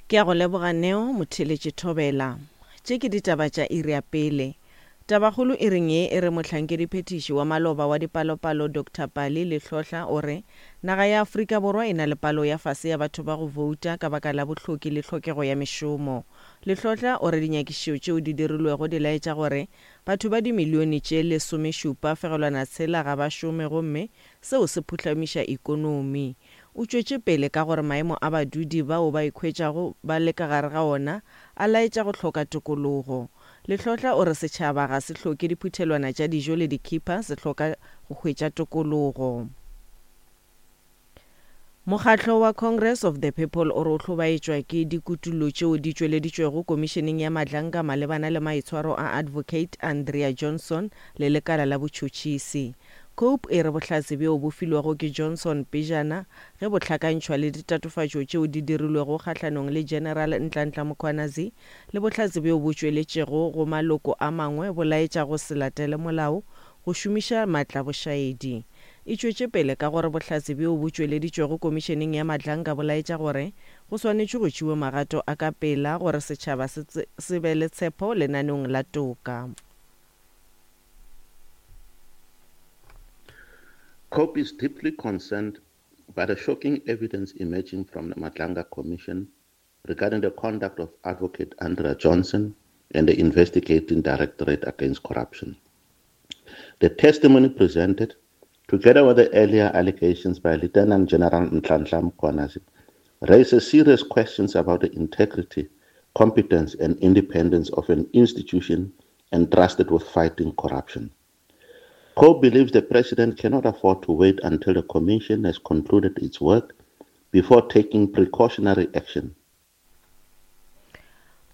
Ke a go leboga Neo, motheeletši Thobela. Tše ke ditaba tša iri ya pele. Tabakgolo iring ye e re mohlankediphethiši wa maloba wa dipalopalo Doctor Pali Lehlohla o re naga ya Afrika Borwa e na le palo ya fase ya batho ba go bouta ka baka la bohloki le tlhokego ya mešomo. Lehlohla o re dinyakišišo tšeo di dirilwego di laetša gore batho ba dimilione tše lesomešupa fegelwana tshela ga ba šome gomme seo se phuhlamiša ikonomi. O tšwetše pele ka gore maemo a badudi bao ba ikhwetšago ba le ka gare ga ona a laetša go hloka tokologo. Lehlohla o re setšhaba ga se hloke diphuthelwana tša dijo le dikhipha, se hloka go hwetša tokologo. Mokgatlo wa Congress of the People o re o hlobaetšwa ke dikutullo tšeo di tšweleditšwego Komišeneng ya Madlanka malebana le maitshwaro a Advocate Andrea Johnson le lekala la botšhotšhisi. Cope e re bohlatse bjo bo filwego ke Johnson pejana ge bo hlakantšhwa le ditatofatšo tšeo di dirilwego kgahlanong le General Nhlanhla Mkhwanazi le bohlatse bjo bo tšweletšego go maloko a mangwe bo laetša go se latele molao go šomiša maatla bošaedi. E tšwetše pele ka gore bohlatse bjo bo tšweleditšwego Komišeneng ya Madlanka bo laetša gore go swanetšwe go tšewe magato a ka pela gore setšhaba se se be le tshepo lenaneong la toka. COPE is deeply concerned by the shocking evidence emerging from the Madlanga Commission regarding the conduct of Advocate Andrea Johnson and the Investigating Directorate Against Corruption. The testimony presented, together with the earlier allegations by Lieutenant General Nhlanhla Mkhwanazi, raises serious questions about the integrity, competence, and independence of an institution entrusted with fighting corruption. COPE believes the president cannot afford to wait until the commission has concluded its work before taking precautionary action.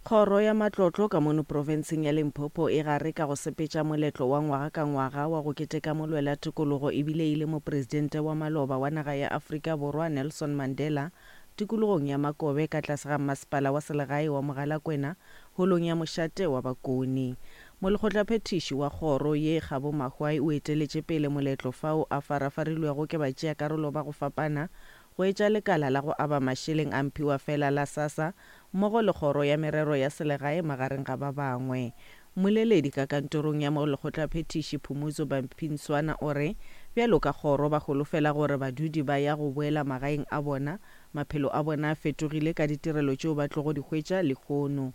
Kgoro ya Matlotlo ka mono profenseng ya Limpopo e gare ka go sepetša moletlo wa ngwaga ka ngwaga wa go keteka molwela tokologo ebile e le mopresidente wa maloba wa naga ya Afrika Borwa Nelson Mandela tikologong ya Makobe ka tlase ga mmasepala wa selegae wa Mogalakwena holong ya mošate wa Bakone. Molekgotlaphethiši wa kgoro ye Kgabo Mahwai o eteletše pele moletlo fao a farafarilwego ke batšeakarolo ba go fapana go etša lekala la go aba mašeleng a mphiwafela la SASSA mmogo le kgoro ya merero ya selegae magareng ga ba bangwe. Mmoleledi ka kantorong ya molekgotlaphethiši Phumudzo Bampinswana o re bjalo ka kgoro ba holofela gore badudi ba ya go boela magaeng a bona Maphelo a bona a fetogile ka ditirelo tšeo ba tlogo di hwetša lehono.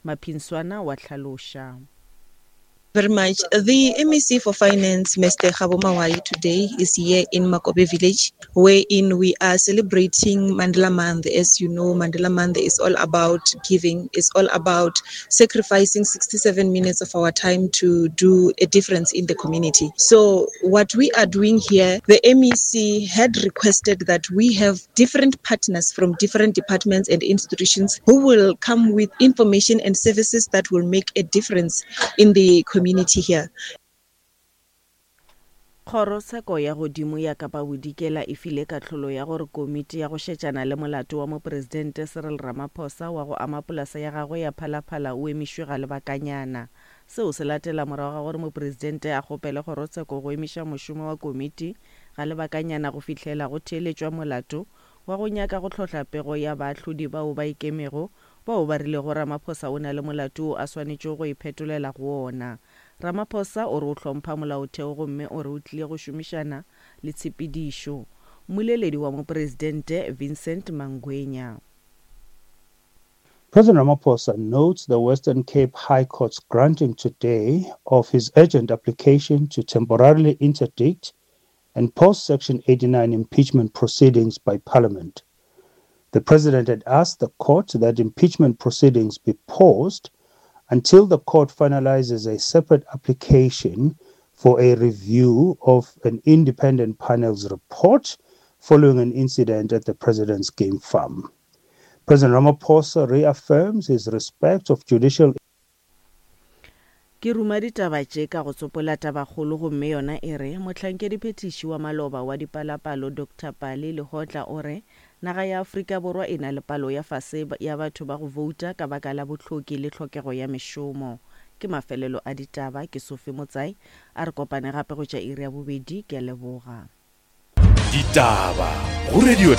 Maphinswana wa hlaloša. Very much. The MEC for Finance, Mr. Kgabo Mawai, today is here in Makobe Village, wherein we are celebrating Mandela Month. As you know, Mandela Month is all about giving, it's all about sacrificing 67 minutes of our time to do a difference in the community. So, what we are doing here, the MEC had requested that we have different partners from different departments and institutions who will come with information and services that will make a difference in the community here. Kgorotsheko ya Godimo ya Kapa Bodikela e file kahlolo ya gore komiti ya go šetšana le molato wa Mopresidente Cyril Ramaphosa wa go ama polasa ya gagwe ya Phalaphala o emišwe ga lebakanyana. Seo se latela morago ga gore Mopresidente a kgopele kgorotsheko go emiša mošomo wa komiti ga lebakanyana go fihlela go theeletšwa molato wa go nyaka go hlohla pego ya baahlodi bao ba ikemego bao ba rilego Ramaphosa o na le molato wo a swanetšego go iphetolela go wona. Ramaphosa o re o hlompha molaotheo gomme o re o tlile go šomišana le tshepedišo. Mmoleledi wa Mopresidente Vincent Mangwenya. President Ramaphosa notes the Western Cape High Court's granting today of his urgent application to temporarily interdict and post Section 89 impeachment proceedings by Parliament. The president had asked the court that impeachment proceedings be paused until the court finalizes a separate application for a review of an independent panel's report following an incident at the president's game farm. President Ramaphosa reaffirms his respect of judicial Ke ruma ditaba tše ka go tsopola tabakgolo gomme yona e re, Mohlankediphethiši wa maloba wa dipalapalo Doctor Pali Lehohla o re naga ya Afrika Borwa e na le palo ya fase ya batho ba go bouta ka baka la bohloki le tlhokego ya mešomo. Ke mafelelo a ditaba. Ke Sophie Motsai. A re kopane gape go tša iri ya bobedi. Ke a leboga. Ditaba go Radio.